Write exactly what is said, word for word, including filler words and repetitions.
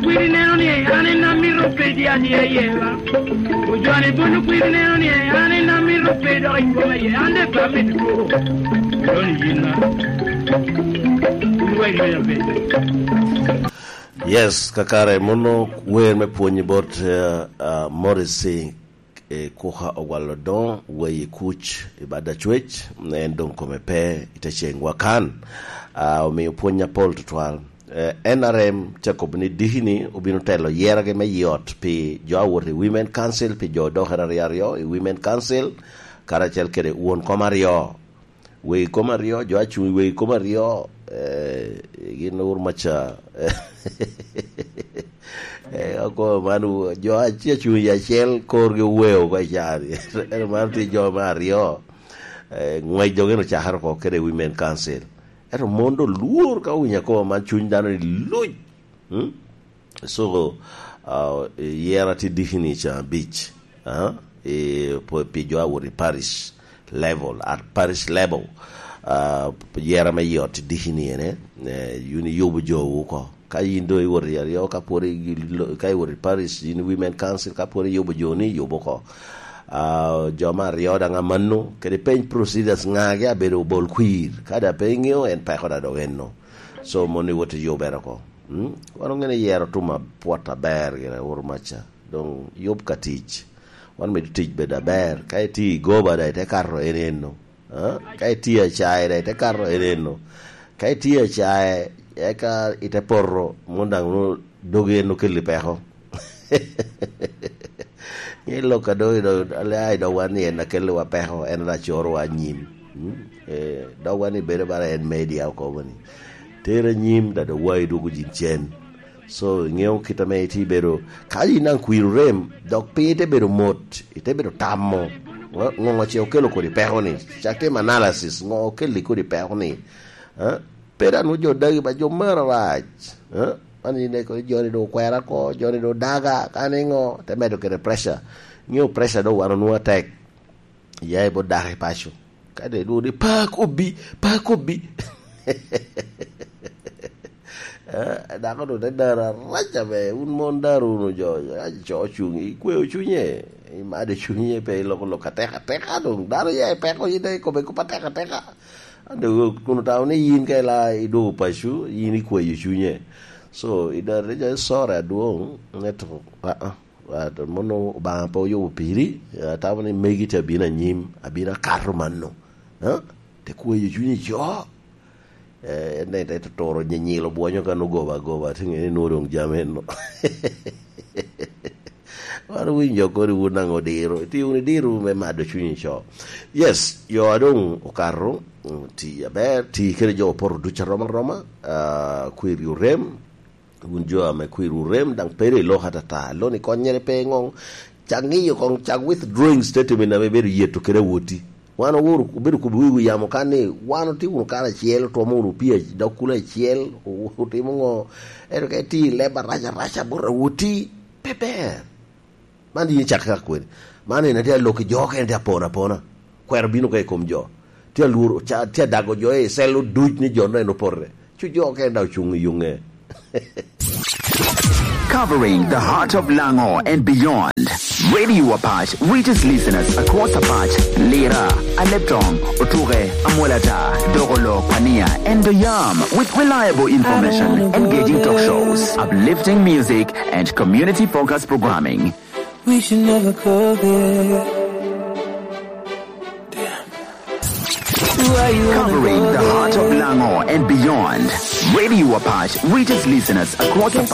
Kwiri neno ni an en amito pedi adi aye ba? Ojone bono kwiri neno ni an en amito pedi dok i kome aye, an de pe amito two. Doni yin ba? Wek yweya pedi. Yes, kakare, mono wer me pwonyi bot, eh, ah, Morrissey, eh, Kuka Ogwal Odoŋo, wei i kuc, i bad acwec, en doŋ kome pe i te ceŋwa kan. Ah, omio pwony apol tutwal. Eh, N R M te kobo ni diki ni obino telo yeragi me yot pi jo a wot i Women Council, pi jo odokere aryo aryo i Women Council, karacel kede won kom aryo. Wei kom aryo, jo a cuŋ i wei kom aryo, eh, gin owuro maca. Eh, ako man, jo a tye cuŋ i acel, korgi oweo oko i caa-ni. Ento man tye jo me aryo. Eh, ngwec dok en ocakere oko kede Women Council. Ento mon doŋ lwor ka owinyo akobo man, cuny dano ni luc. Hmm? So, ah, yera tye diki ni ca abic, ah, i, pi jo a wot i parish level, at parish level, ah, yera me yot tye diki ni ene, eh, yun iyubo jowu oko. Ka yin doŋ iwot i aryo, ka pwod i-, ka iwot i parish, yin Women Council, ka pwod iyubo joni, iyubo oko. Ah, jo me aryo daŋ amanno, kede peny procedures ŋagi abedo bol kwir. Ka daŋ pe iŋeo, en peko daŋ dok enno. So, mon iwot iyubere oko. Mm? Wan oŋeo ni yero tum apwot aber gire, oro maca. Doŋ yub ka tic. Wan mido tic bedo aber. Ka itye i goba daŋ ite kato en enno. Ah? Ka itye acaye daŋ ite kato en enno. Ka itye acaye, eka ite poto, mon daŋ onwoŋo dogi en okelli peko. Ni lok a doŋ, doŋ, doŋ, ai, doŋ wan ni en a kelliwa peko, en a corowa anyim. Mm? Eh, doŋ wan ni bedo bara en media okobo ni. Ter anyim, da doŋ wa idwogo jin cen. So, iŋeo kit ame itye bedo, ka yin daŋ kwir orem, dok piny ite bedo mot, ite bedo tamo. Ŋo, ŋo ce okelo kodi peko ni? Cak tim analysis, ŋo okelli kodi peko ni? Eh? Pe daŋ nwoŋo jo dagi ba jo maro rac. Eh? Man yin eko joni doŋ okwera oko, joni doŋ odaga, ka niŋo, te medo kede pressure. Iŋeo pressure doŋ wan onwoŋo atek. Ya i bot dako i paco. Ka de dwogo ni, "Pa kobbi, pa kobbi." Eh, dako doŋ te daro arac abe, wun mon daro wunu jo, arac co cuŋ, ikweo cunye, imado cunye, pe iloko lok atek ateka doŋ. Dano ya i peko, yin daŋ ikobbe kop atek ateka. Ande kun otamo ni yin ka ila idwogo paco, yin ikweyo cunye. So, i dare jo, "Sorry adwoŋ, ento, ah, ah, ah, mono Obaŋa pe oyubo piri, atamo ni megi te abino anyim, abino akato mano." Ah? Te kweyo cunye co. Eh, en daŋ te toro nyinyilo bwonyo kan ogoba agoba, te ŋe ni nwoŋo doŋ jami enno. Wan owinyo kodi wun daŋ odiro. Itye wunu idiro me mado cunyi co. Yes, yo a doŋ okato, mm, ti aber, ti kede jo opoto duc arom aroma, ah, kwiri orem, wun jo ame kwiri orem, daŋ pede i lok atata. Loni konnyere pe ŋoŋ, cak ŋiyo koŋ, cak withdrawing statement ame ibedo yeto kede awoti. Wan owuro, obedo kobbi wiwu yamo kan ni, wan otye wunu karacel, otwomo wunu pii ac-, dog kulo acel, o-, otimo ŋo, ento ka itye i leb arac arac bot awoti, pe ber. Man yin cak ka kwene. Man en atye alok i jo okene, tye apona apona. Kwero bino ka i kom jo. Tye alworo, ca-, tye adago jo i cell oduc ni jo en opote. Cu jo okene daŋ ocuŋ i yuŋe. Covering the heart of Lango and beyond, Radio Apac reaches listeners across Apac, Lira, Aleptong, Otuke, Amwolata, Dogolo, Kwania, and Oyam with reliable information, engaging talk shows, uplifting music, and community-focused programming. We should never go there. Covering the heart of Lango and beyond, Radio Apac reaches listeners across Apac,